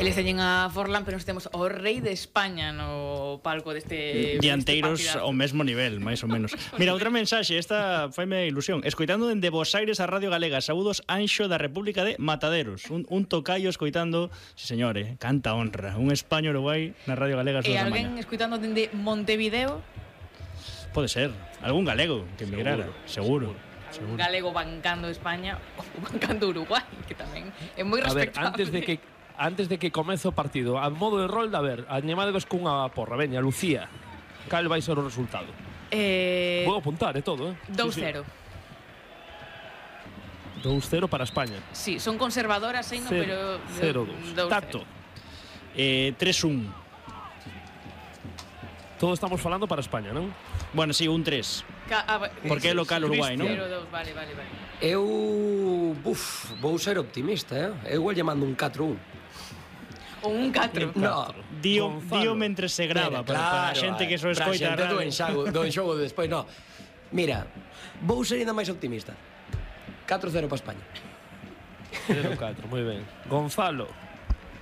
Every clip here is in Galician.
Eles teñen a Forlán, pero nos temos o rei de España no palco deste dianteiros deste ao mesmo nivel, máis ou menos. Mira, outra mensaxe, esta faime ilusión. Escoitando dende Bos Aires a Radio Galega. Saúdos, Anxo da República de Mataderos. Un tocayo escoitando, sí señor, canta honra. Un España Uruguai na Radio Galega. E alguén escoitando dende Montevideo? Pode ser, algún galego que emigrara, seguro. Un galego bancando España ou bancando Uruguai, que tamén é moi respectable. A ver, antes de que comece o partido, a modo de rolda, a ver, añemadevos cunha porra, veña, Lucía, cal vai ser o resultado? Vou apuntar, todo, 2-0. 2-0 para España. Sí, son conservadoras, no, pero 0-2. Tato. 3-1. Todo estamos falando para España, non? Bueno, sí, un 3. Porque é local Uruguai, non? 0-2, vale. Eu vou ser optimista, Eu igual lle mando un 4-1. Ou un 4. No, Dio mentre se grava, para a xente que só escoita. Para a xente do enxogo de despois, no. Mira, vou ser ainda máis optimista. 4-0 para España. 0-4, moi ben. Gonzalo.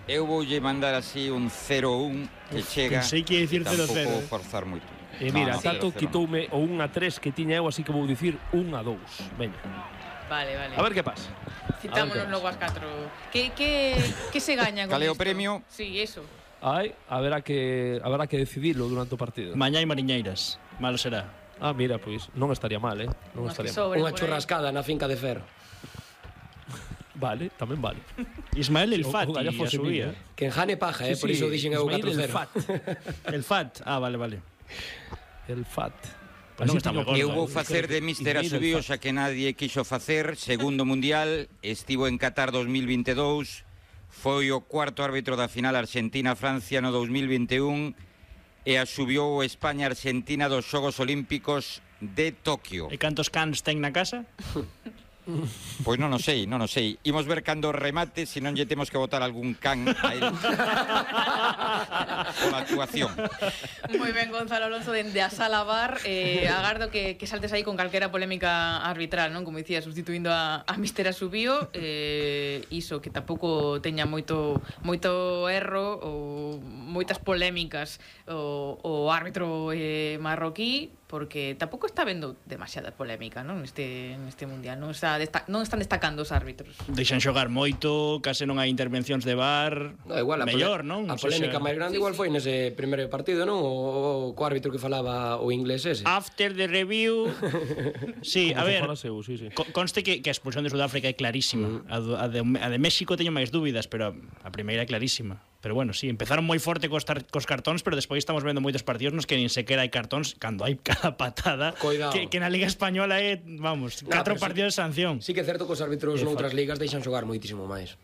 Eu voulle mandar así un 0-1 que chega. Pensei que ia dicir 0-0. Tampouco forzar moito. E mira, Tato quitoume o 1-3 que tiña eu, así que vou dicir 1-2. Veña. Vale. A ver que pasa. Citámonos logo as 4. Que se gaña con Cal é o isto? premio? Sí, eso. Haberá que decidilo durante o partido. Mañá hai mariñeiras. Malo será. Mira, pois non estaría mal, Non estaría mal. Unha churrascada na finca de Ferro. Vale, tamén vale. Ismael el Fat a subía. Que enjane paja, por iso dixen eu 4-0. El Fat, vale. El Fat. Eu vou facer de Mister Asubío, xa que nadie quixo facer. Segundo mundial, estivo en Qatar 2022, foi o cuarto árbitro da final Argentina-Francia no 2021 e asubiou España-Argentina dos Xogos Olímpicos de Tokio. E cantos cans ten na casa? Pois non o sei. Imos ver cando remate, se non lle temos que botar algún can a él pola actuación. Moi ben, Gonzalo Alonso, dende a sala bar. Agardo que saltes aí con calquera polémica arbitral, non? Como dicía, sustituindo a Mister Asubío. Iso, que tampouco teña moito erro ou moitas polémicas o árbitro marroquí, porque tampouco está vendo demasiada polémica, non? Neste mundial non están destacando os árbitros. Deixan xogar moito, case non hai intervencións de VAR. Igual, mellor, non? A polémica máis grande igual foi nese primeiro partido, non? O co árbitro que falaba o inglés ese. After the review. Sí, a ver, conste que a expulsión de Sudáfrica é clarísima. A de México teño máis dúbidas, pero a primeira é clarísima. Pero bueno, sí, empezaron moi forte cos cartóns, pero despois estamos vendo moitos partidos nos que nin sequera hai cartóns cando hai cada patada. Que na Liga Española é, vamos, 4 partidos de sanción. Sí que é certo que os árbitros noutras ligas deixan xogar moitísimo máis.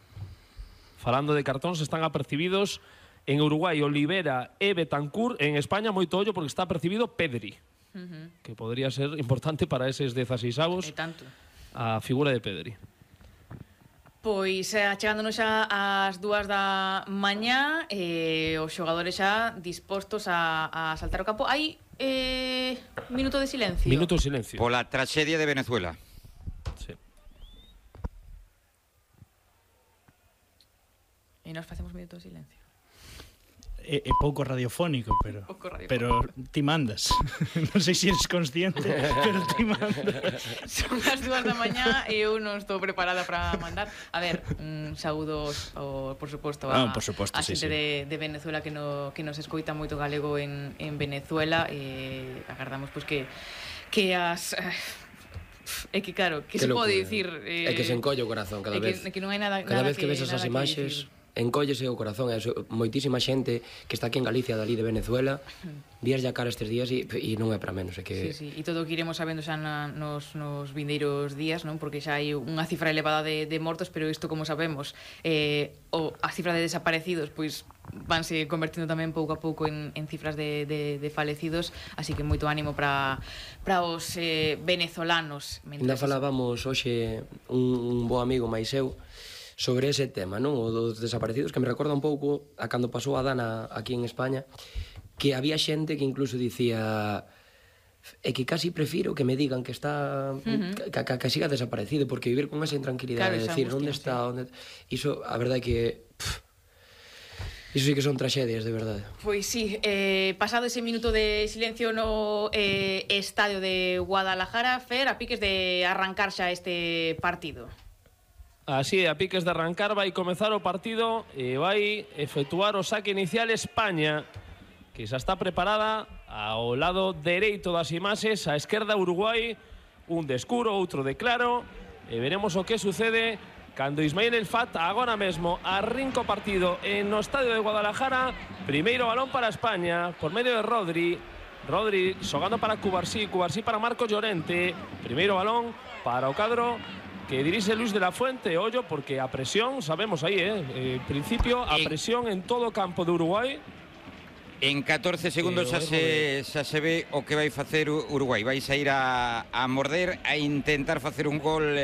Falando de cartóns, están apercibidos en Uruguai Olivera e Betancur. En España moito ollo porque está apercibido Pedri, que podría ser importante para eses 16avos. A figura de Pedri. Pois achegándonos xa ás 2 da mañá, os xogadores xa dispostos a saltar o campo. Hai minuto de silencio. Minuto de silencio. Pola traxedia de Venezuela. Sí. E nos facemos minuto de silencio. É pouco radiofónico, pero ti mandas. Non sei se eres consciente, pero ti mandas. Son as 2 da mañá e eu non estou preparada para mandar. A ver, saúdos, por suposto, a xente de Venezuela que nos escoita moito galego en Venezuela, e agardamos pois que as... É que claro, que se pode dicir... É que se encolle o corazón cada vez. Que non hai nada cada vez que ves esas imaxes... Encóllese o corazón, moitísima xente que está aquí en Galicia, dali de Venezuela, vías ya cara estes días e non é para menos. Sí, e todo o que iremos sabendo xa nos vindeiros días, non? Porque xa hai unha cifra elevada de mortos, pero isto, como sabemos, a cifra de desaparecidos pois vanse convertindo tamén pouco a pouco en cifras de falecidos, así que moito ánimo para os venezolanos. Ainda falábamos hoxe un bo amigo máis eu sobre ese tema, non? O dos desaparecidos, que me recorda un pouco a cando pasou a Dana aquí en España, que había xente que incluso dicía é que casi prefiro que me digan que está que siga desaparecido, porque vivir con esa intranquilidade, decir, onde está, onde... Iso, a verdade é que Iso sí que son tragedias, de verdade. Pois sí, pasado ese minuto de silencio no estadio de Guadalajara, Fer, a piques de arrancar xa este partido. Así, a piques de arrancar, vai comezar o partido e vai efectuar o saque inicial España, que xa está preparada ao lado dereito das imaxes, a esquerda Uruguai, un de escuro, outro de claro, e veremos o que sucede cando Ismail El Fat agora mesmo arrinca o partido no estadio de Guadalajara. Primeiro balón para España por medio de Rodri xogando para Cubarsí para Marcos Llorente. Primeiro balón para o cadro que dirixe Luis de la Fuente. Ollo, porque a presión, sabemos aí, en principio, a presión en todo o campo de Uruguai. En 14 segundos xa se ve o que vai facer Uruguai. Vai sair a morder, a intentar facer un gol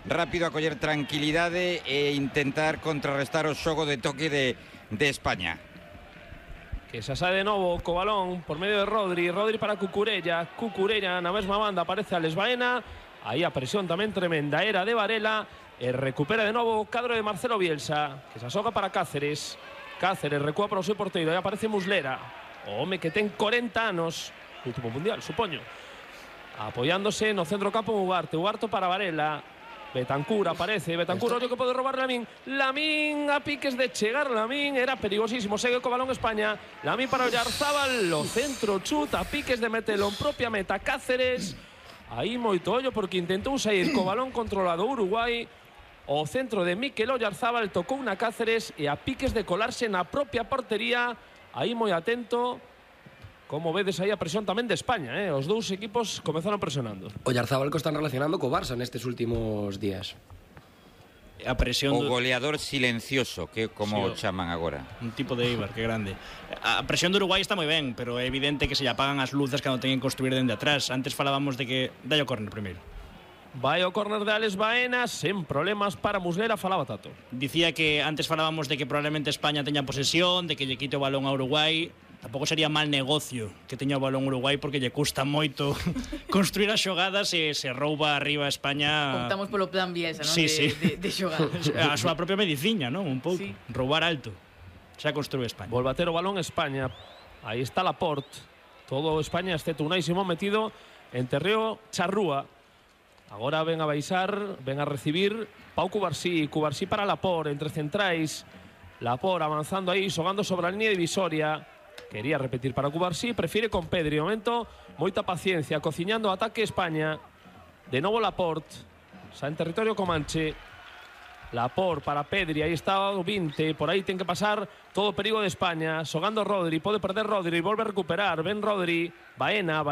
rápido, a coller tranquilidade e intentar contrarrestar o xogo de toque de España. Que xa sae de novo co balón por medio de Rodri para Cucurella na mesma banda aparece Alex Baena. Aí a presión tamén tremenda era de Varela e recupera de novo o cadro de Marcelo Bielsa, que se asoga para Cáceres recúa para o seu porteiro, aí aparece Muslera, o home que ten 40 anos, último mundial, supoño, apoiándose no centro campo Ugarte para Varela. Betancur aparece, ollo que pode robar Lamín a piques de chegar, Lamín era perigosísimo, segue co balón España, Lamín para Oyarzábal, o centro chuta a piques de metelo en propia meta Cáceres. Aí moito ollo porque intentou sair co balón controlado Uruguai. O centro de Mikel Oyarzábal tocou na Cáceres e a piques de colarse na propia portería. Aí moi atento. Como vedes aí a presión tamén de España, Os dous equipos comezaron presionando. Oyarzábal que están relacionando co Barça nestes últimos días. A presión o goleador silencioso, que como sí, chaman agora. Un tipo de Eibar, que grande. A presión de Uruguai está moi ben, pero é evidente que se lle apagan as luces cando teñen que construir dende atrás. Antes falábamos de que dai o córner primeiro. Vai o córner de Alex Baena, sen problemas para Muslera, falaba Tato. Dicía que antes falábamos de que probablemente España teña posesión, de que lle quite o balón a Uruguai. Tampouco sería mal negocio que teña o balón Uruguai porque lle custa moito construir as xogadas e se rouba arriba a España. Optamos polo plan Bielsa, non? Sí, de xogadas. A súa propia mediciña, non? Un pouco. Sí. Roubar alto. Xa construe España. Volve a ter o balón España. Aí está Laporte. Todo España, excepto Unai Simón metido en terreo charrúa. Agora ven a baixar, ven a recibir Pau Cubarsí para Laporte, entre centrais. Laporte avanzando aí, xogando sobre a línea divisoria. Quería repetir para Cubarsí, prefiere con Pedri. De momento, moita paciencia, cociñando o ataque España. De novo Laporte, xa en territorio comanche. Laporte para Pedri, aí está o 20, por aí ten que pasar todo o perigo de España. Xogando Rodri, pode perder Rodri, volve a recuperar, ven Rodri. Baena